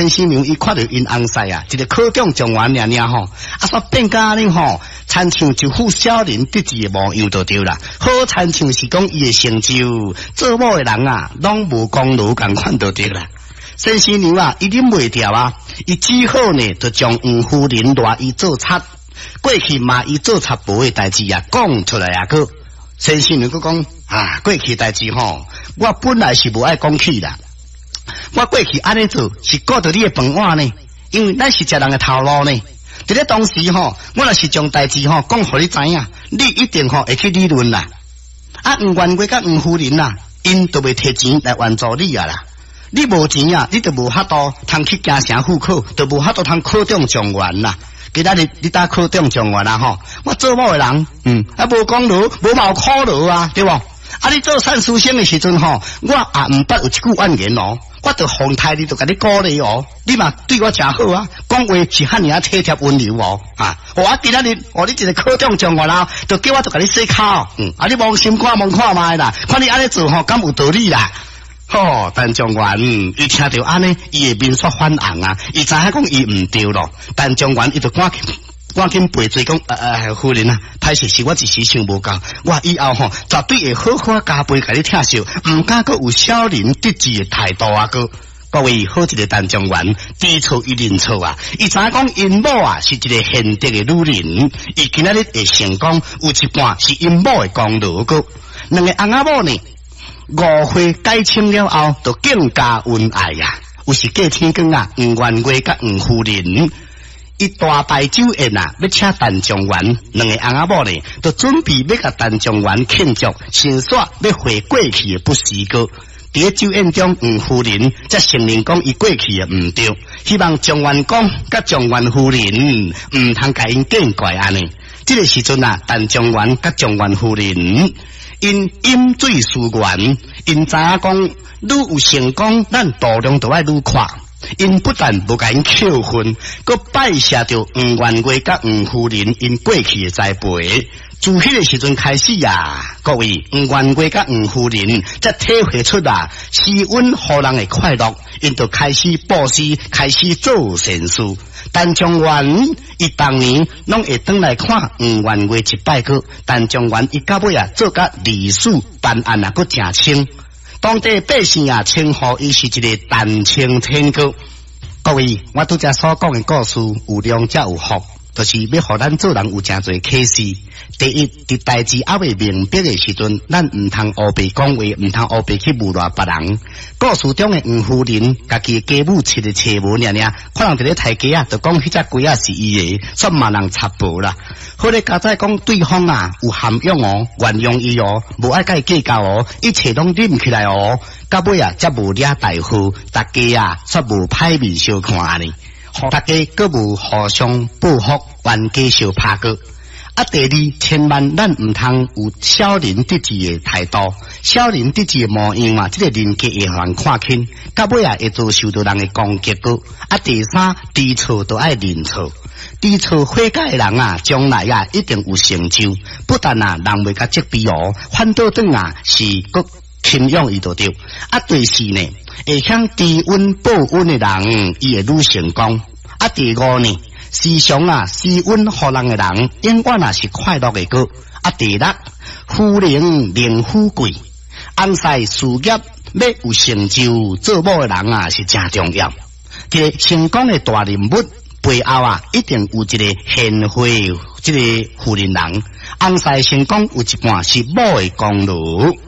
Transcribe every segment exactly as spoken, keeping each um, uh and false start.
先生娘伊看著𪜶翁婿啊，一个考中狀元爾爾吼，啊，煞變甲按呢吼，親像一副小人得志的模樣就對啦。好親像是講伊的成就，做某的人啊，攏無功勞仝款就對啦。先生娘啊，伊忍袂牢啊，伊只好呢，就將黃夫人賴伊做賊，過去罵伊做賊婆的代誌啊，講出來啊，閣先生娘閣講啊，過去代誌吼，我本來是無愛講起啦。我過去按呢做是顧著你的飯碗呢，因為咱是食人的頭路呢。佇咧當時吼，我若是將代誌吼講予你知影，你一定吼會去理論啦。啊，黃元月佮黃夫人啊，𪜶就袂提錢來援助你啊啦。你無錢啊，你就無法度通去京城赴考，就無法度通考中狀元啦。今仔日你搭考中狀元啊吼，我做某的人，嗯，啊無功勞，無嘛有苦勞啊，對無？啊，你做善書生的時陣吼，我也毋捌有一句怨言哦。我就奉待你，就共你鼓勵哦。你嘛對我誠好啊，講話是遐爾仔體貼溫柔哦。啊，我今仔日哦，你一個考中狀元啊，就叫我就共你洗跤。嗯，啊，你摸心肝摸看覓啦，看你按呢做吼，敢有道理啦？吼，陳狀元伊聽著按呢，伊的面煞反紅啊，伊知影講伊毋對咯。陳狀元伊就趕緊趕緊賠罪講，呃呃，夫人啊，歹勢是我一時想無夠，我以後吼絕對會好好加倍共你疼惜，毋敢閣有小人得志的態度啊！閣各位好一個陳狀元，知錯伊認錯啊！伊知影講𪜶某啊是一個賢德的女人，伊今仔日會成功，有一半是𪜶某的功勞閣兩个翁仔某呢，誤會解清了後，就更加恩愛啊！有時過天光啊，黃元月佮黃夫人，伊大擺酒宴啊，欲請陳狀元，兩个翁仔某呢，就準備欲共陳狀元慶祝，先煞欲悔過去的不是閣。佇咧酒宴中，黃夫人才承認講伊過去的毋對，希望狀元公佮狀元夫人毋通共𪜶見怪按呢。這个時陣啊，陳狀元佮狀元夫人𪜶飲醉思源，𪜶知影講愈有成功，咱度量就愛愈闊。𪜶不但無共𪜶扣分，閣拜謝著黃元月佮黃夫人𪜶過去的栽培。自彼个時陣開始啊，各位黃元月佮黃夫人才體會出啊，施恩予人的快樂，𪜶就開始布施，開始做善事。陳狀元伊逐年攏會轉來看黃元月一擺閣，陳狀元伊到尾啊做甲歷史辦案啊，閣誠清。當地百姓啊稱呼伊是一个陳青天閣。各位，我拄才所講的故事有量才有福，就是欲予咱做人有誠濟啟示。第一，佇代誌猶未明白的時陣，咱毋通烏白講話，毋通烏白去誣賴別人。故事中的黃夫人，家己的家母飼的冊無爾爾，可能佇咧刣雞仔，就講彼隻雞仔是伊的，煞罵人賊婆啦。好咧，佳哉講對方啊有涵養哦，原諒伊哦，無愛佮伊計較哦，一切攏忍起來哦，到尾啊才無惹大禍，大家啊煞無歹面相看按呢，大家閣無互相報復，冤家相拍過。啊，第二，千萬咱毋通有小人得志的態度，小人得志的模樣啊，這个人格會予人看輕，到尾啊會遭受著人的攻擊閣。啊，第三，知錯就愛認錯，知錯悔改的人啊，將來啊一定有成就。不但啊，人袂共責備哦，反倒轉啊是閣欽仰伊就對。啊，第四呢，會曉知恩報恩的人，伊會愈成功。啊，第五呢，時常啊施恩予人的人，永遠啊是快樂的閣。啊，第六，夫能寧富貴，翁婿事業欲有成就，做某的人啊是誠重要。這个成功的大人物背後啊，一定有一个賢惠這个婦人人。翁婿成功有一半是某的功勞。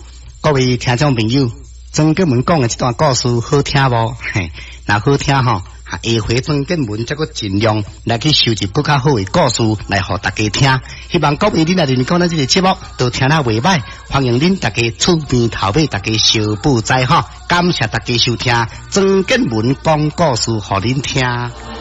各位聽眾朋友，曾建文講的這段故事好聽無？嘿，若好聽吼，下回曾建文才閣盡量來去收集閣較好的故事來予大家聽。希望各位恁若認為講咱這个節目都聽得袂䆀，歡迎恁大家厝邊頭尾大家相報知吼。感謝大家收聽曾建文講故事予恁聽。